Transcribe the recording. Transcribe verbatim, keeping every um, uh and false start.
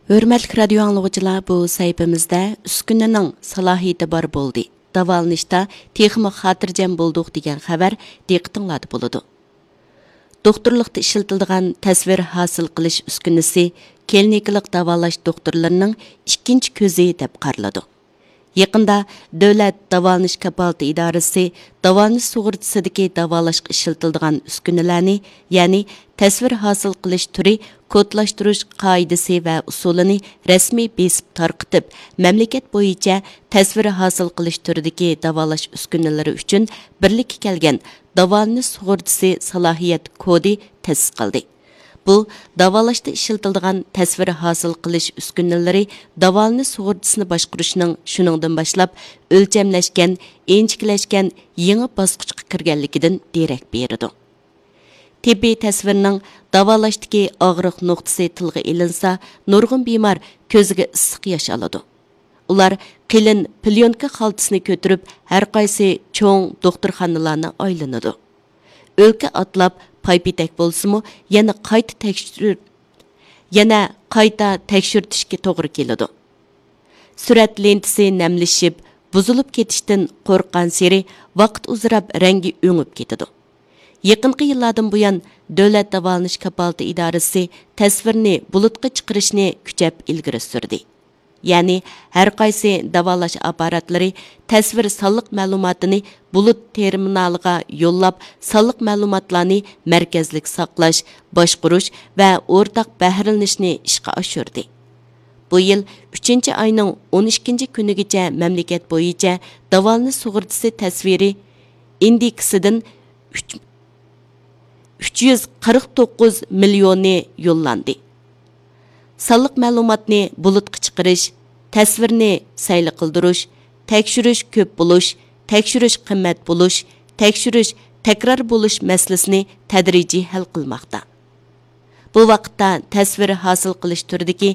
ھۆرمەتلىك رادىيو ئاڭلىغۇچىلار، بۇ سەھىپىمىزدە ئۈسكۈنىنىڭ سالاھىيىتى بار بولدى، داۋالىنىشتا تېخىمۇ خاتىرجەم بولدۇق دېگەن خەۋەر دىققىتىڭلاردا بولىدۇ. دوختۇرلۇقتا ئىشلىتىلىدىغان تەسۋىر ھاسىل قىلىش ئۈسكۈنىسى كلىنىكىلىق داۋالاش دوختۇرلىرىنىڭ ئىككىنچى كۆزى دەپ قارىلىدۇ. يېقىندا دۆلەت داۋالىنىش كاپالىتى ئىدارىسى داۋالىنىش سۇغۇرتىسىدىكى داۋالاشقا ئىشلىتىلىدىغان ئۈسكۈنىلەرنى، يەنى تەسۋىر ھاسىل قىلىش تۈرى، كودلاشتۇرۇش قائىدىسى ۋە ئۇسۇلىنى رەسمىي بېسىپ تارقىتىپ، مەملىكەت بويىچە تەسۋىر ھاسىل قىلىش تۈرىدىكى داۋالاش ئۈسكۈنىلىرى ئۈچۈن بىرلىككە كەلگەن داۋالىنىش سۇغۇرتىسى سالاھىيەت كودى تەسىس قىلدى. بۇ داۋالاشتا ئىشلىتىلىدىغان تەسۋىر ھاسىل قىلىش ئۈسكۈنىلىرى داۋالىنىش سۇغۇرتىسىنى باشقۇرۇشنىڭ شۇنىڭدىن باشلاپ ئۆلچەملەشكەن، ئىنچىكىلەشكەن يېڭى باسقۇچقا كىرگەنلىكىدىن دېرەك بېرىدۇ. تېببىي تەسۋىرنىڭ داۋالاشتىكى ئاغرىق نۇقتىسى تىلغا ئېلىنسا، نۇرغۇن بىمار كۆزىگە ئىسسىق ياش ئالىدۇ. ئۇلار قېلىن پليونكا خالتىسىنى كۆتۈرۈپ، ھەرقايسى چوڭ دوختۇرخانىلارنى ئايلىنىدۇ. ئۆلكە ئاتلاپ پايپېتەك بولسىمۇ، يەنە قايتا تەكشۈر-، يەنە قايتا تەكشۈرتۈشكە توغرا كېلىدۇ. سۈرەت لېنتىسى نەملىشىپ، بۇزۇلۇپ كېتىشتىن قورققانسېرى ۋاقىت ئۇزىراپ رەڭگى ئۆڭۈپ كېتىدۇ. يېقىنقى يىللاردىن بۇيان، دۆلەت داۋالىنىش كاپالىتى ئىدارىسى تەسۋىرنى بۇلۇتقا چىقىرىشنى كۈچەپ ئىلگىرى سۈردى. يەنى، ھەرقايسى داۋالاش ئاپپاراتلىرى تەسۋىر سانلىق مەلۇماتىنى بۇلۇت تېرمىنالىغا يوللاپ، سانلىق مەلۇماتلارنى مەركەزلىك ساقلاش، باشقۇرۇش ۋە ئورتاق بەھرىلىنىشنى ئىشقا ئاشۇردى. بۇ يىل ئۈچىنچى ئاينىڭ ئون ئىككىنچى كۈنىگىچە مەملىكەت بويىچە داۋالىنىش سۇغۇرتىسى تەسۋىرى ئىندېكسىدىن ئۈچ، ئۈچ يۈز قىرىق توققۇز مىليونى يوللاندى. سانلىق مەلۇماتنى بۇلۇتقا چىقىرىش، تەسۋىرنى سەيلە قىلدۇرۇش، تەكشۈرۈش كۆپ بولۇش، تەكشۈرۈش قىممەت بولۇش، تەكشۈرۈش تەكرار بولۇش مەسىلىسىنى تەدرىجىي ھەل قىلماقتا. بۇ ۋاقىتتا تەسۋىر ھاسىل قىلىش تۈرىدىكى